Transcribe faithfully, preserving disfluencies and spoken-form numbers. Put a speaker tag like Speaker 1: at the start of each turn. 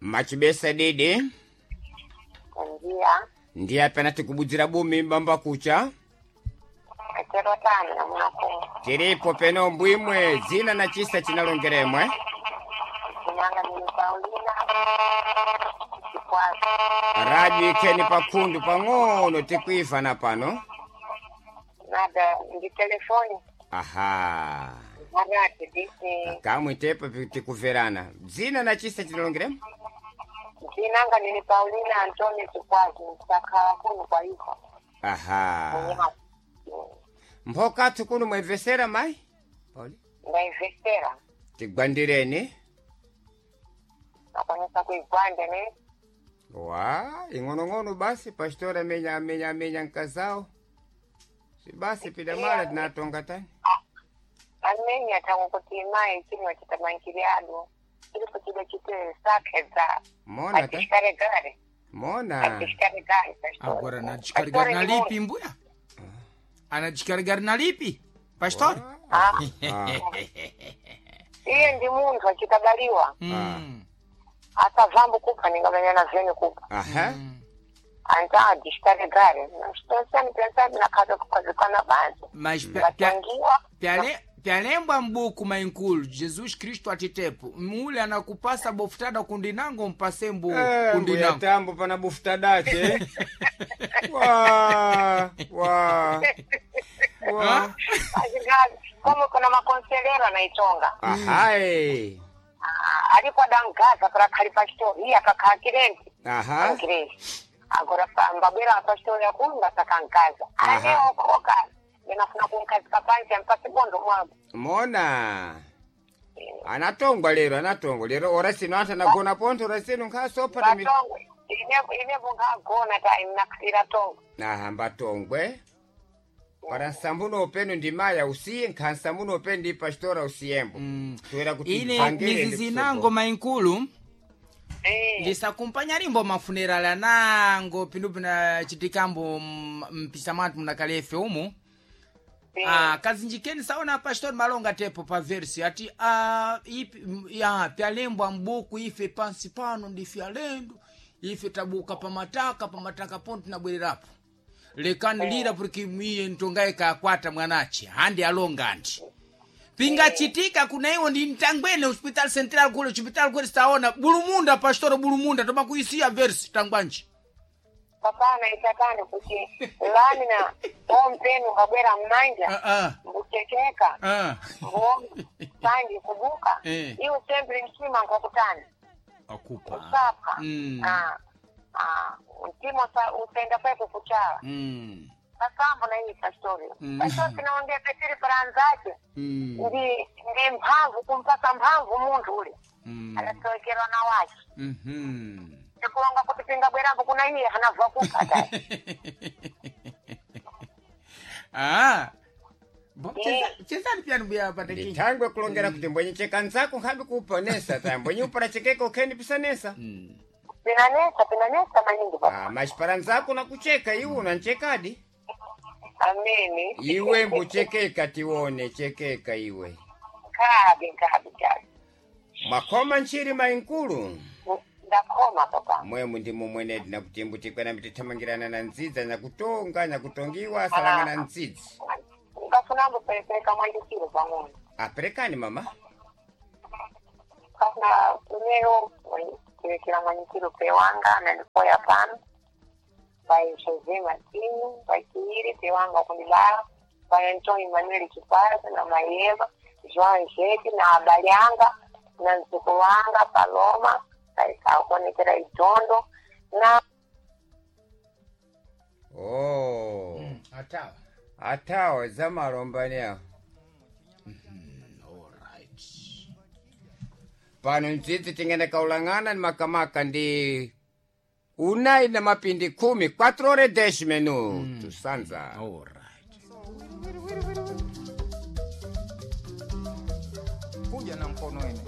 Speaker 1: Machibesa didi.
Speaker 2: Bom dia.
Speaker 1: Ndiye apena tikubudzira bumi mbamba kucha.
Speaker 2: Katero tano na mwaku.
Speaker 1: Tiripo peno mbwimwe dzina na chisa chinalongeremwe.
Speaker 2: Kunanga mimi Paulina. Chikwasa.
Speaker 1: Radio ikeni pakhundu pang'ono tikuivana pano.
Speaker 2: Nada ndi telefoni.
Speaker 1: Aha.
Speaker 2: Marati disi.
Speaker 1: Kamwe tepo tikuverana. Dzina na chisa chinalongeremwe?
Speaker 2: Dzinanga nini Paulina Antonio Chikwasa. Msakhala kuno kwa iko.
Speaker 1: Aha. Mphokathu kuno mwemvesera mayi? Pauli.
Speaker 2: Ndaivesera.
Speaker 1: Tigwandireni.
Speaker 2: Nakwanisa kuigwande ne.
Speaker 1: Wa, ing'onong'ono basi pastora amenya amenya amenya nkazao. Si basi pidamala tinatonga tani.
Speaker 2: Amenya tangu kuti mai chimwe chitamankiriado. Chilipo chida chite sakhedza.
Speaker 1: Mona ta.
Speaker 2: Atishikaregare.
Speaker 1: Mona.
Speaker 2: Atishikaregare.
Speaker 3: Agora anajikaregari na lipi mbuya? Anajikaregari na lipi? Pastor?
Speaker 2: Ah.
Speaker 1: Ah.
Speaker 2: Iye ndi munthu achitabaliwa.
Speaker 3: Mm.
Speaker 2: Asavambo kupha ningamenya veni kupha.
Speaker 1: Aha.
Speaker 2: Anta adishikaregare. Pensani pensani nakhaza kukhazikana banzi.
Speaker 3: Mas pya- pya-
Speaker 2: Ngatangiwa.
Speaker 3: pyale- pyalembwa mbuku mainkulu Jesus Kristo atitepo mule anakupasa bofutada kundinango mpase mbu
Speaker 1: Eh, mbuya
Speaker 3: kundinango
Speaker 1: tambo pana bufuta dache. Wa, wa. Wa.
Speaker 2: Azingazi. Como kuna makonselero anaitonga.
Speaker 1: Ahai.
Speaker 2: Ah, alipo adangaza para khali pastor iye akakhala kirenti.
Speaker 1: Aha.
Speaker 2: Angiresi. Agora pa- mbabwera pastor yakunda sakankaza. Ane
Speaker 1: Aha.
Speaker 2: okoka. Ndinafuna kunkazika pansi ampase bondo mwangu.
Speaker 1: Mona. Anatongwa lero anatongwa lero ora sino anthu anagona pontho ora sino nkhasopa tami.
Speaker 2: Batongwe. Ine ine bunkhagona ta inakhira tongwe.
Speaker 1: Aha mbatongwe. Para nsambuno upenu ndi maya usiye nkhansambuno upenu ndi pastora usiyembo.
Speaker 3: Mm.
Speaker 1: Toera kuti
Speaker 3: ine
Speaker 1: bvangere ndi
Speaker 3: mizizi
Speaker 1: kusoko.
Speaker 3: nango mainkulu
Speaker 2: Eh.
Speaker 3: ndisakumpanya limbo mafunerali anango pindu pinachitikambo m- mpisa mwathu munakalefe umu
Speaker 2: Eh.
Speaker 3: Ah, kazinjikeni saona pastor malonga tepo pa versi ati ah, ipi, m- ya pyalembwa mbuku ife pansi pano ndife alendo ife tabuka pamataka pamataka pono tinabwererapo lekani lira porque miye ntongaye kakwata mwanache handi alonga andi pingachitika kuna iwo ndi mtangwene hospital central kule hospital kule saona bulumunda pastoro bulumunda toma kuisiya versi tangwanji
Speaker 2: Papana itatani kuti lani na ompenu kabwera mmanja
Speaker 3: ah, ah,
Speaker 2: mbuchekeka
Speaker 3: ah.
Speaker 2: mbuoma sanji kubuka
Speaker 3: Eh.
Speaker 2: iwo sempre mtima nkokutani
Speaker 3: akupa
Speaker 2: usapha
Speaker 3: Mm.
Speaker 2: ah, ah, mtima usa- usenda kweko kuchala
Speaker 3: mm.
Speaker 2: pasambo na iyi pastori
Speaker 3: Mm.
Speaker 2: pastori tinaongea petiri paranzake
Speaker 3: Mm.
Speaker 2: ndi ndi mphamvu kumpasa mphamvu munthu ule
Speaker 3: Mm.
Speaker 2: adasowekerwa na wache
Speaker 3: Mhm.
Speaker 2: ndikulonga kuti pingabwerambo kuna iye hanabva kupha tayi
Speaker 3: ah. Bo,
Speaker 2: Eh.
Speaker 3: cheza- chezani pyani mbuya patekinyi
Speaker 1: Ndithangwe kulongera kuti mbwenye chekanzako nkhabe kuuponesa ta mbwenye upara chekeka ukheni pisanesa.
Speaker 2: pinanesa pinanesa maningi papa
Speaker 1: Ah, machiparanzako nakucheka iwe unanchekadi.
Speaker 2: amene
Speaker 1: Iwe mbuchekeka tione chekeka iwe.
Speaker 2: kabi kabi kabi
Speaker 1: Mwakhoma ntchiri mainkulu.
Speaker 2: ndakhoma papa
Speaker 1: Mwemu ndi mumwenedi nakuti mbutikwena mitithamangirana na ndzidzi nyakutonga nyakutongiwa asalanga na ndzidzi.
Speaker 2: ngafunambo perepereka mwandikiro pang'ono
Speaker 1: Aperekani mama.
Speaker 2: kafuna primeiro kurekera mwandikiro pewanga anandikoya pano pai José Martinho pai Kiiri pewanga kundibala pai Antônio Manuel Chipaza na Maieva João Jete na Abalhanga na mzukulu wanga Paloma kaikuonekera Idondo na
Speaker 1: Oh.
Speaker 3: atawa
Speaker 1: Atawa zamalombani awo.
Speaker 3: alright
Speaker 1: Pano ndzidzi tingene kaulang'ana ni makamaka ndi unai na mapindi khumi quatro ore dez minutos sanza.
Speaker 3: alright
Speaker 4: Kuja na mkono ene.